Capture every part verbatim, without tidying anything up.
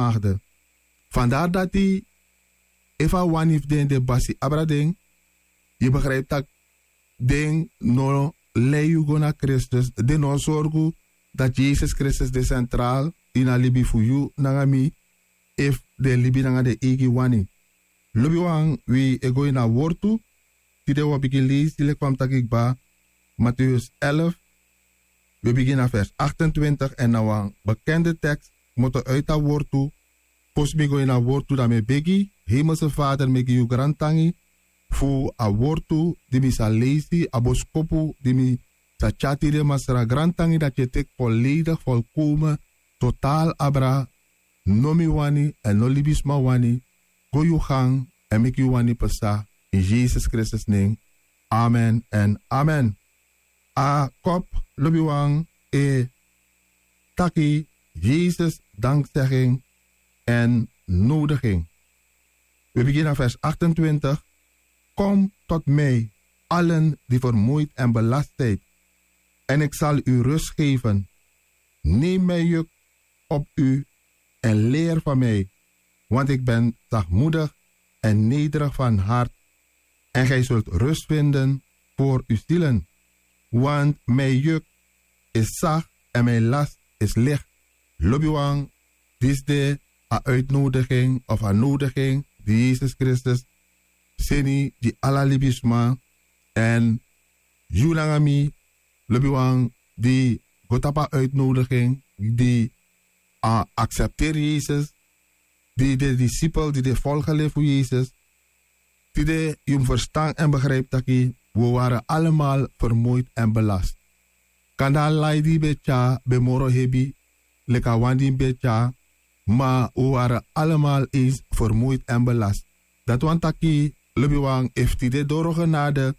Maagde. Fandari dati efu a wani fu den de basi abra den, yu begripi tak' den no lei yu go na Kristus, den no o sorgu dati Yesus Kristus de sentraal ini a libi fu yu nanga mi, efu den libi nanga den eigi wani. Lobiwan, wi e go ini a wortu. Tide wi o bigin leisi leki fa mi taki kba, Mateus elf, wi e bigin na vers achtentwintig èn na wan bekende teks kmoto uiti a wortu. Fosi mi go ini a wortu dan mi e begi, Hemelse Vader, mi e gi yu grantangi fu a wortu di mi sa leisi, a boskopu di mi sa tyari tide. Masra, grantangi dati yu e teki volledig, volkomen, totaal abra, no mi wani èn no libisma wani, go yu gang èn meki yu wani pasa. In Yesus Kristus nen. Amen èn amen. A kop, lobiwan, e taki Yesus dankzegging en nodiging. We beginnen vers achtentwintig. Kom tot mij, allen die vermoeid en belast zijt, en ik zal u rust geven. Neem mijn juk op u en leer van mij, want ik ben zachtmoedig en nederig van hart, en gij zult rust vinden voor uw zielen. Want mijn juk is zacht en mijn last is licht. Lobiwan, disi de a uitnodiging of a nodiging di Yesus Kristus seni gi ala libisma. Èn yu nanga mi, lobiwan, di go tapu a uitnodiging, di a aksepteri Yesus, di de disipel, di de volgeling fu Yesus, tide yu mus ferstan èn begrijpi taki wi ware allemaal vermoeid en belast. Kande a lai di yu ben tyari ben moro hebi leki a wan di yu ben tyari, ma wi ware allemaal eens vermoeid en belast. Dati wani taki, lobiwan, efu tide doro genade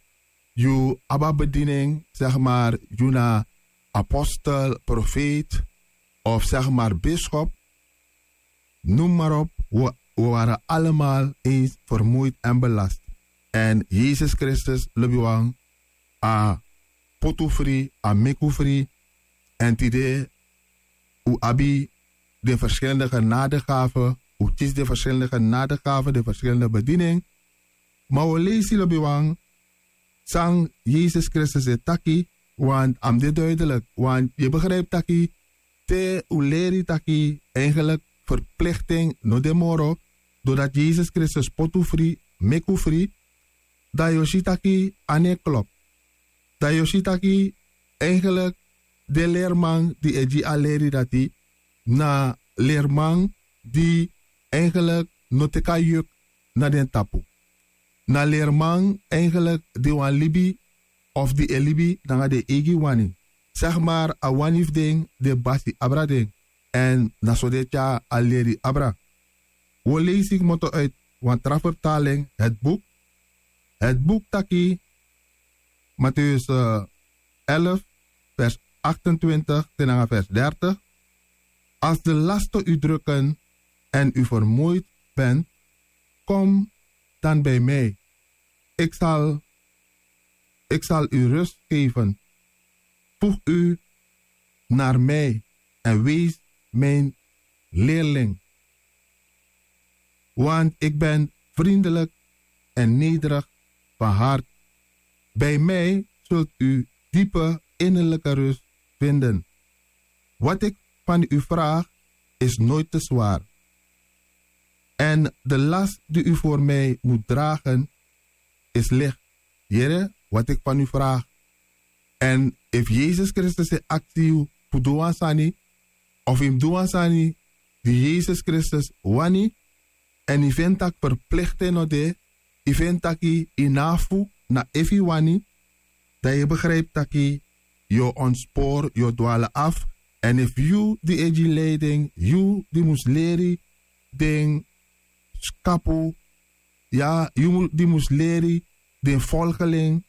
yu abi a bediening, zeg maar, yu na apostel, profeet, of zeg maar bischop, noem maar op, we, we waren allemaal eens vermoeid en belast. En Yesus Kristus, lobiwan, a poti unu fri, a meki unu fri. En tide wi abi de verschillende genadegaven, wi kisi de verschillende genadegaven, de verschillende bediening. Ma wi o leisi, lobiwan, san Yesus Kristus e taki, want a mus de duidelijk, want yu e begrijpi taki te wi leri taki eigenlijk verplichting no de moro, doordat Yesus Kristus poti unu fri, meki unu fri, dan yu o si taki a no e klop. Dan yu o si taki eigenlijk den lerman di e gi a leri dati na lerman di eigenlijk no teki a juk na den tapu. Na lerman eigenlijk di wani libi of di e libi nanga den eigi wani. Zeg maar, a wani fu den, den basi abra den. Èn na so den e tyari a leri abra. Wi o leisi kmoto uit wan tra vertaling, het boek. Het boek taki, Matthäus, eh, elf, vers achtentwintig te nanga vers dertig. Als de lasten u drukken en u vermoeid bent, kom dan bij mij. Ik zal, ik zal u rust geven. Voeg u naar mij en wees mijn leerling. Want ik ben vriendelijk en nederig van hart. Bij mij zult u diepe innerlijke rust vinden. Wat ik van u vraag is nooit te zwaar. En de last die u voor mij moet dragen is licht. Yere, wat ik van u vraag. Èn efu Yesus Kristus e aksi yu fu du wan sani, of yu mus du wan sani di Yesus Kristus wani, èn yu feni tak' verplichting no de, yu feni taki yu no abi fu, na efu yu wani, dan yu e begrijpi taki yu o ontspoor, yu o dwalen af. Èn efu yu di e gi leiding, yu di mus leri den skapu, ya, yu mu-, di mus leri den volgeling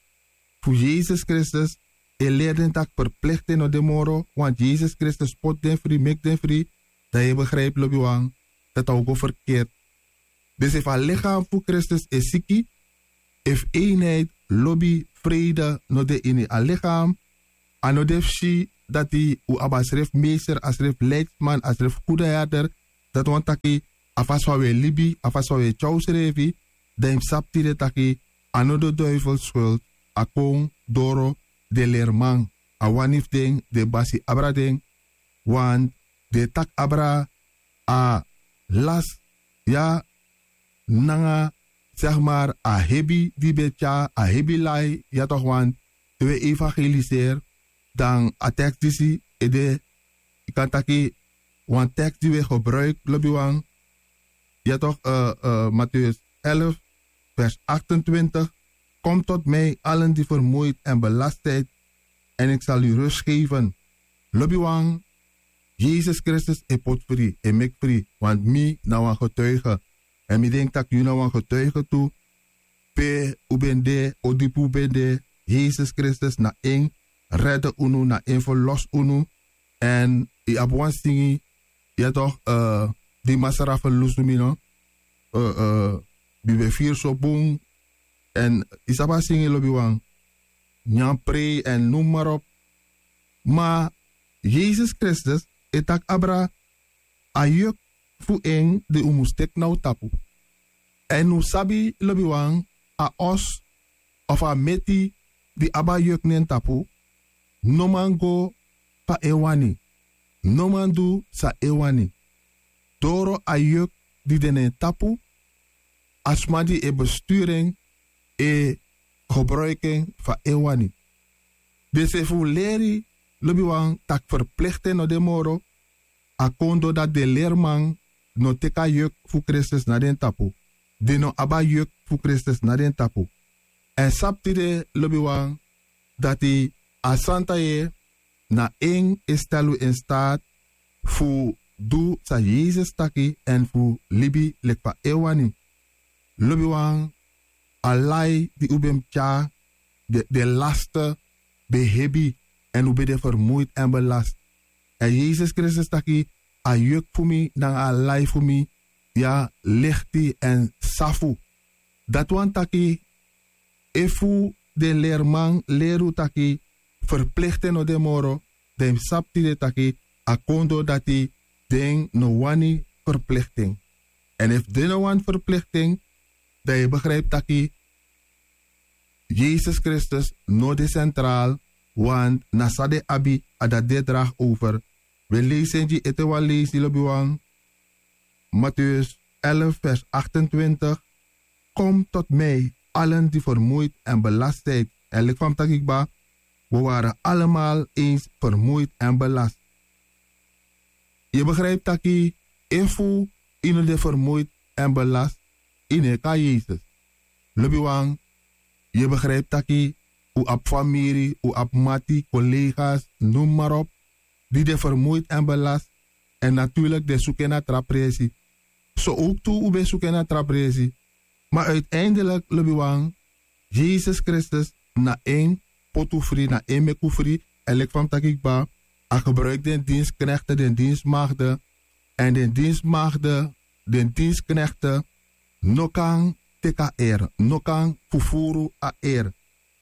fu Yesus Kristus, e leri den tak' verplichting no de moro, want Yesus Kristus poti den fri, meki den fri, dan yu e begrijpi, lobiwan, dati a o go verkeerd. Dus efu a lichaam fu Kristus e siki, efu eenheid, lobi, vrede no de ini a lichaam, a no de fu si dati un abi a srefi meester, a srefi leidsman, a srefi goede herder, Dati wani taki a fasi fa wi e libi, a fasi fa wi e tyari unsrefi, dan yu mus sabi tide taki a no de duifel skuld, a kon doro den lerman. A wani fu den, den basi abra den, want den e taki abra a las ya nanga, zeg maar, a hebi di ben tyari, a hebi lai, ya toch, want te wi e evangeliseri, dan a teks disi e de, yu kan taki, wan teks di wi e gebruiki, lobiwan, ya toch, eh, eh, Matthäus elf, vers achtentwintig: "Kom tot mij, allen die vermoeid en belast zijt, en ik zal u rust geven." Lobiwan, Jesus Christus e poti fri, e meki fri, want mi na wan getuige. Èn mi denki tak' yu na wan getuige tu. Pe un ben de, odipi un ben de, Jesus Kristus na en rede unu, na en ferlosi unu. Èn yu abi wan singi, ya toch, eh, di Masra ferlusu mi, no? Eh, eh, mi ben firi so bun. Èn yu sabi a singi, lobiwan, nyan prei èn noem maar op. Ma Jesus Kristus e taki abra a juk fu en di un mus teki na un tapu. Èn un sabi, lobiwan, a os of a meti di abi a juk na en tapu no man go fa en wani, no man du san en wani. Doro a juk di de na en tapu, a sma di e besturu en e gebruiki en fa en wani. Dus efu un leri, lobiwan, tak' ferplikti no de moro, a kon doro dati den lerman no teki a juk fu Kristus na den tapu. Den no abi a juk fu Kristus na den tapu. Èn sabi tide, lobiwan, dati a Santa Yeye na en e stel un in staat fu du san Jesus taki èn fu libi leki fa en wani. Lobiwan, a lai di un ben mus tyari, den, den laste ben hebi, èn un ben de fermoeid èn belast. Èn Jesus Kristus taki a juk fu mi nanga a lai fu mi, ya, licht èn safu. Dati wani taki, efu den lerman leri un taki ferplikti no de moro, dan yu mus sabi tide taki a kon doro dati den no wani ferplikti en. Èn efu den no wani ferplikti en, dan yu e begrijpi taki Jesus Kristus no de centraal, want na san den abi, a dati den e dragi over. Wi e leisi en gi ete wan leisi, lobiwan. Matthäus elf, vers achtentwintig: "Kom tot mij, allen die vermoeid en belast zijt." Èn leki fa mi taki kba, we waren allemaal eens vermoeid en belast. Yu e begrijpi taki efu yu no de fermoeid èn belast, yu no e kon na Jesus. Lobiwan, yu e begrijpi taki un abi famiri, un abi mati, collega's, noem maar op, di de fermoeid èn belast. Èn natuurlijk den suku en na tra presi. So ook tu un ben suku en na tra presi. Ma uiteindelijk, lobiwan, Jesus Kristus na en poti un fri, na en meki un fri. Èn leki fa mi taki kba, a gebruiki den dienstknechten, den diensmagden. Èn den diensmagden, den dienstknechten no kan teki a ere, no kan fufuru a ere.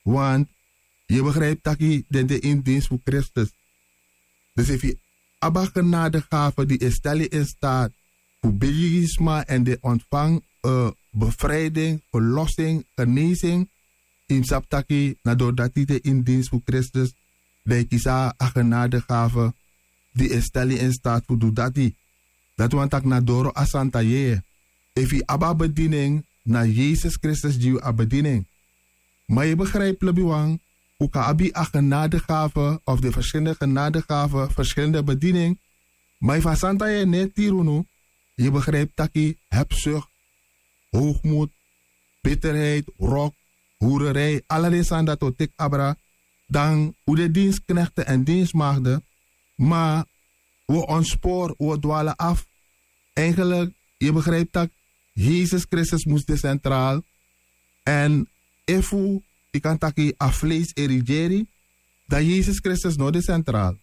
Want yu e begrijpi taki den de ini dienst fu Kristus. Dus efu yu abi a genadegave di e stel yu in staat fu begi sma èn den ontvangi, eh, bevrijding, verlossing, genezing, yu mus sabi taki na doro dati yu de ini dienst fu Kristus, dan yu kisi a genadegave di e stel yu in staat fu du dati. Dati wani taki na doro a Santa Yeye. Efu yu abi a bediening, na Jesus Kristus gi yu a bediening. Ma yu e begrijpi, lobiwan, un kan abi a genadegave of de verschillende genadegave, verschillende bediening. Ma efu a Santa Yeye no e tiri unu, yu e begrijpi taki hebzucht, hoogmoed, bitterheid, wrok, hoererij, ala den sani dati o teki abra, dan un de dienstknechten èn diensmagden, ma we ontspoor, we dwalen af. Eigenlijk, yu e begrijpi taki Jesus Kristus mus de centraal. Èn efu yu kan taki a vlees e regeri, dan Jesus Kristus no de centraal.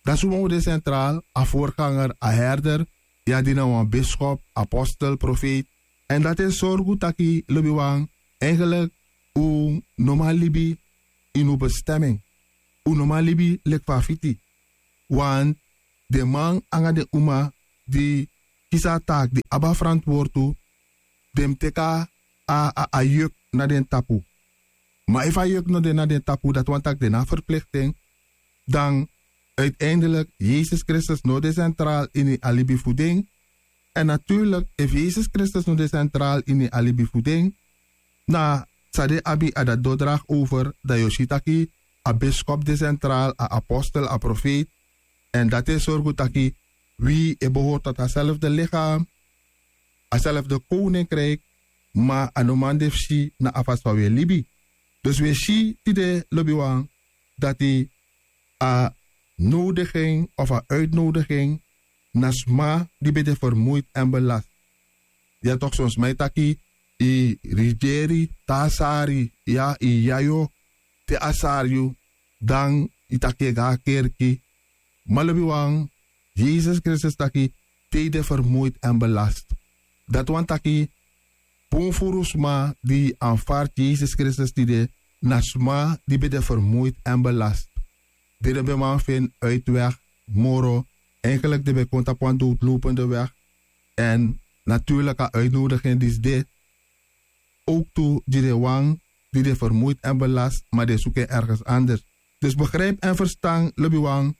Dan suma o de centraal? A voorganger, a herder, ya, di na wan bischop, apostel, profeet. Èn dati e sorgu taki, lobiwan, eigenlijk un no man libi ini un bestemming. Un no man libi leki fa a fiti. Want den man nanga den uma di kisi a taaki di abi a ferantwortu, den mus teki a a yuk na den tapu. Ma efu a yuk no de na den tapu dati wani tak' den na ferplikti en, dan uiteindelik yesus kristus no de sentraal ini a libi fu den. Èn naturlik efu yesus kristus no de sentraal ini a libi fu den, na san den abi a dati dodrag over, dan yu o si taki a biskop de sentraal, a apostel, a profeet. Èn dati e sorgu taki wi e behoort tot a selfde lichaam, a selfde koninkrijk, ma a no man de fu si na a fasi fa wi e libi. Dus wi e si tide lobiwan dati a nodiging of a uitnodiging na sma di ben de vermoeid èn belast. Ya tok' son sma e taki yu rigeri te a sari, ya yu yayo te a sari yu, dan yu taki yu e go na kerki. Ma lobiwan, yesus kristus taki te yu de vermoeid èn belast. Dati wani taki bun furu sma di anfarti yesus kristus tide na sma di ben de vermoeid èn belast. Di den ben man feni uitweg moro, eigenlik den ben kon tapu wan dowdlopende weg. Èn naturlik a uitnodiging disi de ook tu gi den wan di de vermoeid èn belast, ma den suku en ergens anders. Dus begrijp èn ferstan lobiwan,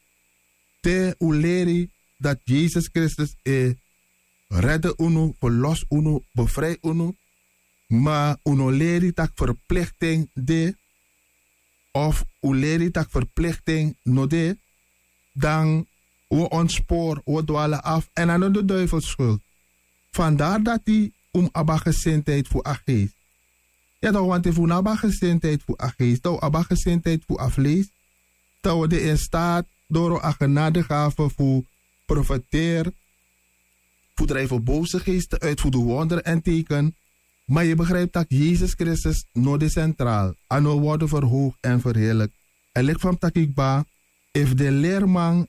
te un leri dati yesus kristus e redde unu, verlos unu, befrij unu, ma un no leri tak' verplikting de, of un leri tak' verplikting no de, dan un o ontspoor, un o dwala afu èn a no de duivelskuld. Fandari dati un mus abi a gesintheid fu a geest. Ya dan wanten efu un no abi a gesintheid fu a geest, dan un abi a gesintheid fu a vlees, dan un de in staat doro a genadegave fu profeteer, fu drijfen bose geesten uit, fu du wonderen èn teken. Ma yu begrijpti tak' yesus kristus no de sentraal, a no worden verhoogd èn verheerlik. Èn leki fa mi taki kba, efu den lerman,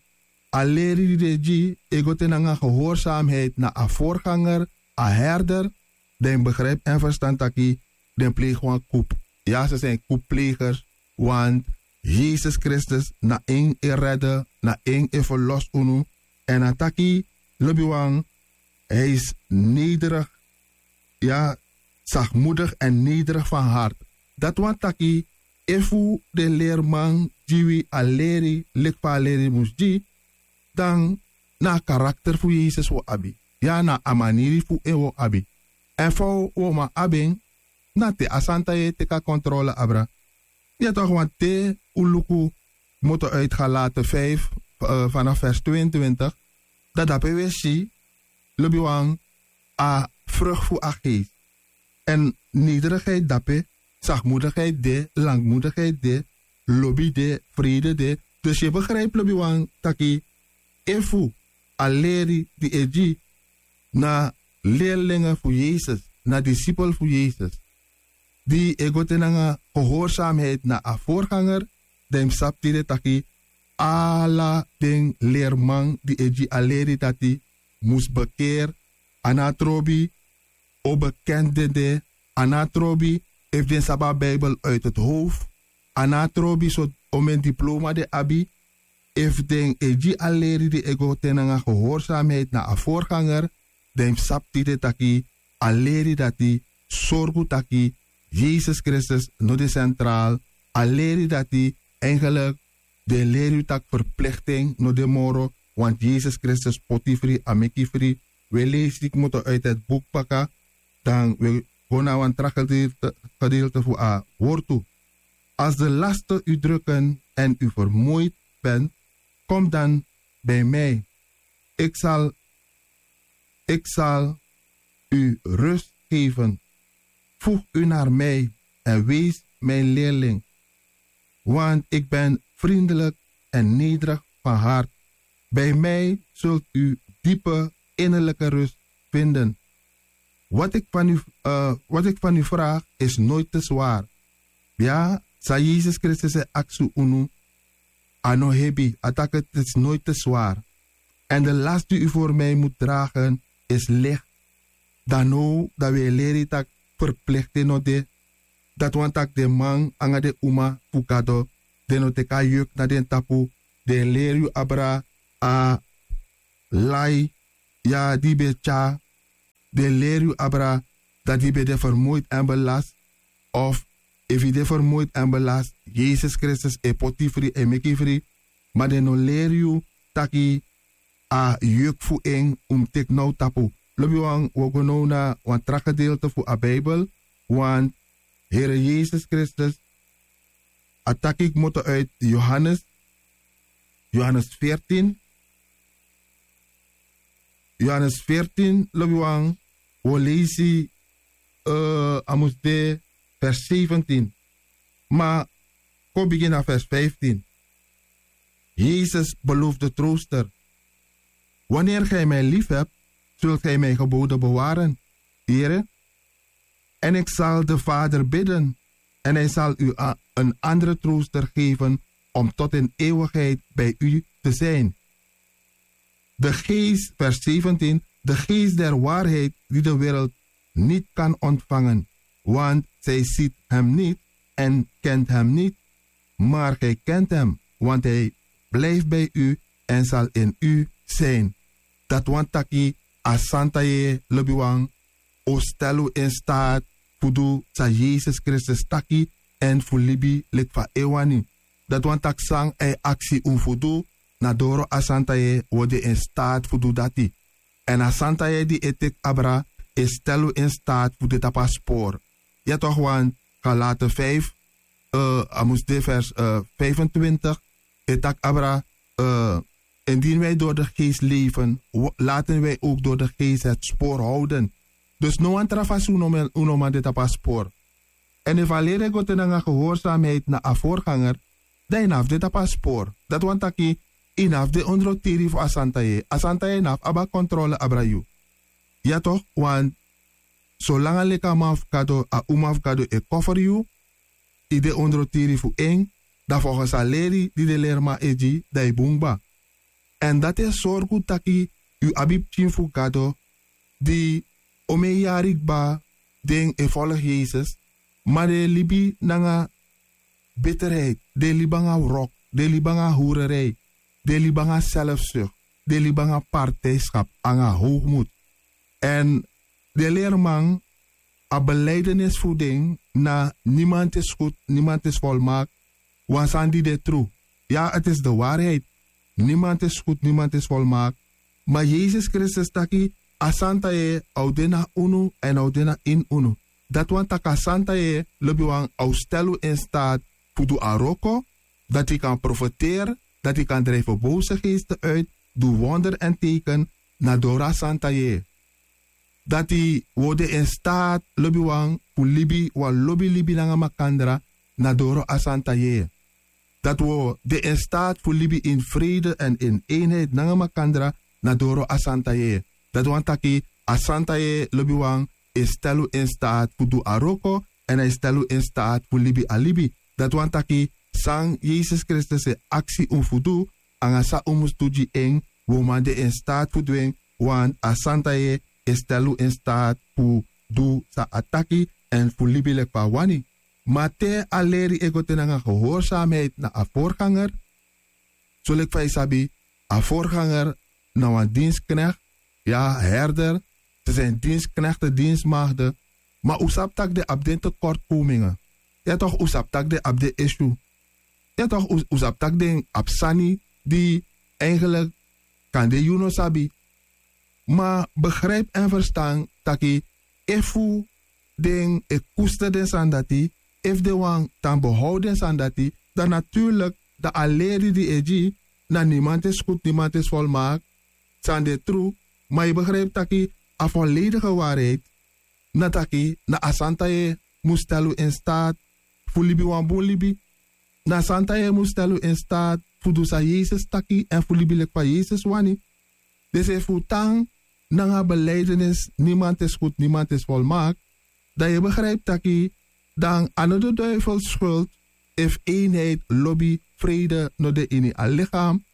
a leri di den e gi e go te nanga gehoorsamheid na a vorganger, a herder, dan yu mus begrijpti èn ferstan taki den pleegi wan kup. Ya se seni kupplegers. Want yesus kristus na en e redde, na en e ferlos unu. Èn a taki lobiwan, hij is nederig, ya, zachtmoedig èn nederig van hart. Dati wani taki efu den lerman gi wi a leri leki fa a leri mus gi, dan na a karakter fu yesus wi o abi. Ya na a maniri fu en wi o abi. Èn fa wi o man abi en, na te a santa yeye teki a kontrole abra. Ya tok' wanten un luku kmoto uit galate vijf, vanaf vers tweeëntwintig, dan dape wi e si lobiwan, a vrucht fu a geest. Èn nederigheid dape, zachtmoedigheid de, langmoedigheid de, lobi de, vrede de. Dus yu e begrijpti lobiwan taki efu a leri di e gi na leerlingen fu yesus, na disipel fu yesus, di e go te nanga gehoorsamheid na a vorganger, dan yu mus sabi tide taki ala den lerman di e gi a leri dati mus bekeer. A no a trobi o bekend den de, a no a trobi efu den sabi a bijbel uit het hoofd, a no a trobi so omen diploma den abi. Efu den e gi a leri di e go te nanga gehoorsamheid na a vorganger, dan yu mus sabi tide taki a leri dati sorgu taki yesus kristus no de sentraal. A leri dati, eigenlik den leri yu tak' verplikting no de moro, want yesus kristus poti fri, a meki fri. Wi e lesi kmoto uit het boek baka, dan wi e go na wan tra gedeelte fu a wortu. Als de lasten u drukken en u vermoeid bent, kom dan bij mij. Ik zal, ik zal u rust geven. Voeg u naar mij en wees mijn leerling. Want ik ben vriendelijk en nederig van hart. Bij mij zult u diepe innerlijke rust vinden. Wat ik van u, eh, wat ik van u vraag is nooit te zwaar. Ya, san yesus kristus e aksi unu, a no hebi, a taki het is nooit te zwaar. En de last die u voor mij moet dragen is licht. Dan now dan wi e leri tak' verplikting no de. Dati wani tak' den man nanga den uma fu gado, den no teki a juk na den tapu. Den e leri yu abra a lai ya di yu ben e tyari, den leri yu abra dati yu ben de fermuid èn belast? Of efu yu de fermuid èn belast, yesus kristus e poti yu fri, e meki yu fri. Ma den no leri yu taki a juk fu en un mus teki now tapu. Lobiwan, wi o go now na wan tra gedeelte fu a bibel. Want here yesus kristus a taki kmoto uit johannes, johannes veertien. Johannes veertien, lobiwan, wi o leisi a mus de vers zeventien. Ma kon bigin na vers vijftien. Jezus belooft de trooster. Wanneer gij mij lief hebt, zult gij mijn geboden bewaren. Here, en ik zal de vader bidden, en hij zal u een andere trooster geven om tot in eeuwigheid bij u te zijn. De geest, vers zeventien, de geest der waarheid, die de wereld niet kan ontvangen, want zij ziet hem niet en kent hem niet. Maar gij kent hem, want hij blijft bij u en zal in u zijn. Dati wani taki a santa yeye, lobiwan, o stel un in staat fu du san yesus kristus taki, èn fu libi leki fa en wani. Dati wani taki san a e aksi un fu du, na doro a santa yeye wi o de in staat fu du dati. Èn a santa yeye di e teki abra, e stel un in staat fu de tapu a spoor. Ya tok' wan, galate vijf, a mus de vers vijfentwintig, e taki abra, indien wij door de geest leven, laten wij ook door de geest het spoor houden. Dus no wan tra fasi un no man de tapu a spoor. Èn efu a leri e go te nanga gehoorsamheid na a vorganger, dan yu no abi de tapu a spoor. Dati wani taki yu no abi de ondro tiri fu a santa yeye. A santa yeye no abi abi a kontrole abra yu. Ya tok', want solanga leki a man fu gado, a uma fu gado e koferi yu, yu de ondro tiri fu en, dan folgens a leri di den leriman e gi, dan yu bun kba. Èn dati e sorgu taki yu abi pikin fu gado di omeni yari kba den e folgu yesus, ma den e libi nanga biterheid, den e libi nanga wrok, den e libi nanga hurerei, den e libi nanga selfsuk, den e libi nanga partijskap nanga howgmut. Èn den leriman, a beleidenis fu den na niemand is goed, niemand is volmaakt. Wan sani di de tru. Ya, eti isi de wariheid. Niemand is goed, niemand is volmaakt. Ma yesus kristus taki a santa yeye a o de na unu èn a o de na ini unu. Dati wani taki a santa yeye, lobiwan, a o stel un in staat fu du a wroko, dati yu kan profeteri, dati yu kan drijfen bose geesten uit, du wonder èn teken, na doro a santa yeye. Dati wi o de in staat, lobiwan, fu libi wan lobi libi nanga makandra, na doro a santa yeye. Dati wi o de in staat fu libi ini frede èn ini einheid nanga makandra, na doro a santa yeye. Dati wani taki a santa yeye, lobiwan, e stel un in staat fu du a wroko, èn a e stel un in staat fu libi a libi. Dati wani taki san yesus kristus e aksi un fu du, nanga san un mus du gi en, wi o man de in staat fu du en. Want a santa yeye e stel un in staat fu du san a taki, èn fu libi leki fa a wani. Ma te a leri e go te nanga gehoorsamheid na a vorganger. Soleki fa yu sabi, a vorganger na wan dienstknekti, ya, herder, se seni dienstknekti, diensmagde. Ma un sabi tak' den abi den tekortkomingen. Ya tok', un sabi tak' den abi den issue. Ya tok', un sabi tak' den abi sani di eigenlik kande yu no sabi. Ma begrijpi èn ferstan taki efu den e kuster den sani dati, efu den wani tan behou den sani dati, dan natuurlik, dan a leri di e gi, na niemand is goed, niemand is volmaakt. San de tru. Ma yu begrijpi taki a volledige wariheid na taki na a santa yeye mus stel un in staat fu libi wan bun libi. Na a santa yeye mus stel un in staat fu du san yesus taki èn fu libi leki fa yesus wani. Dus efu un tan nanga beleidenis niemand is goed, niemand is volmaakt, dan yu begrijpi taki dan a no de duivel skuld efu einheid, lobi, frede no de ini a lichaam.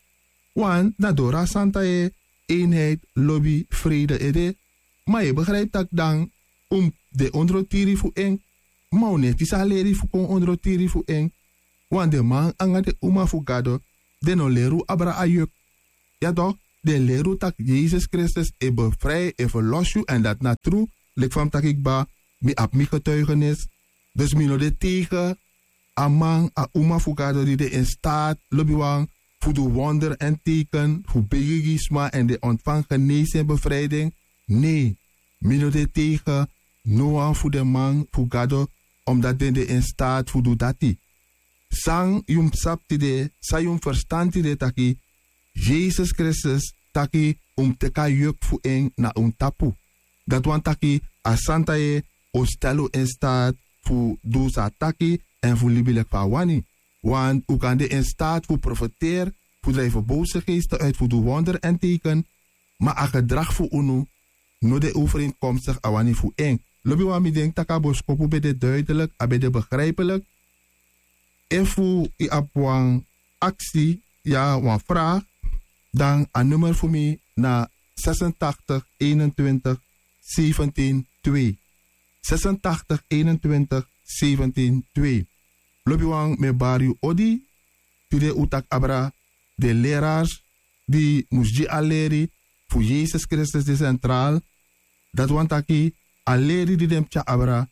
Want na doro a santa yeye einheid, lobi, frede e de. Ma yu begrijpi tak' dan un mus de ondro tiri fu en. Ma un no e kisi a leri fu kon ondro tiri fu en. Want den man nanga den uma fu gado, den no leri un abra a juk. Ya tok', den e leri unu tak' yesus kristus e befrij, e ferlosi yu èn dati na tru. Leki fa mi taki kba, mi abi mi getuigenis. Dus mi no de tegen a man, a uma fu gado di de in staat, lobiwan, fu du wonder èn teken fu begi gi sma èn den ontfangi genesi èn befrijding. Nei, mi no de tegen no wan fu den man fu gado, omdati den de in staat fu du dati. San yu mus sabi tide, san yu mus ferstan tide, taki yesus kristus taki un mus teki a juk fu en na un tapu. Dati wani taki a santa yeye o stel un in staat fu du san a taki èn fu libi leki fa a wani. Want un kan de in staat fu profeteri, fu drijfi bowse geesten uit, fu du wonder èn teken, ma a gedragi fu unu no de overeenkomstigi a wani fu en. Lobiwan, mi denki tak' a boskopu ben de duidelik, a ben de begrijpelik. Efu yu abi wan aksi, ya wan vraag, dan a nummer fu mi na zesentachtig eenentwintig zeventien twee. Zesentachtig eenentwintig zeventien twee. Lobiwan, mi e bari yu odi. Tide un taki abra den lerars di mus gi a leri fu yesus kristus de sentraal. Dati wani taki a leri di den mus tyari abra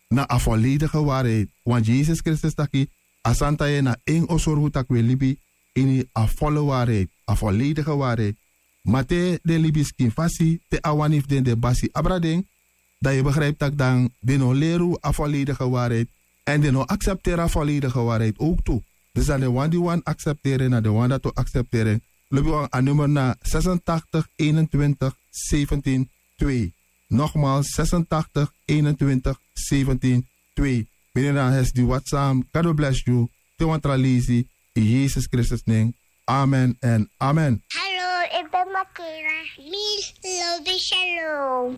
na a volledige waarheid. Want yesus kristus taki a santa yeye na en o sorgu tak' wi e libi ini a volle waarheid, a volledige waarheid. Ma te den libi skin fasi, te a wani fu den de basi abra den, dan yu begrijpi tak' dan den no leri unu a volledige waarheid. Èn den no aksepteri a volledige waarheid ook tu. Dus dan den wan di wani aksepteri en na den wan dati o aksepteri en. Lobiwan, a nummer na zesentachtig eenentwintig zeventien twee. Nogmaals, zesentachtig eenentwintig zeventien twee. Mini na hesi di watsam. God o blesi yu. Te wan tra lesi, in yesus kristus nen. Amen èn amen. Hallo, ik ben Makela. Mi lobi shalom.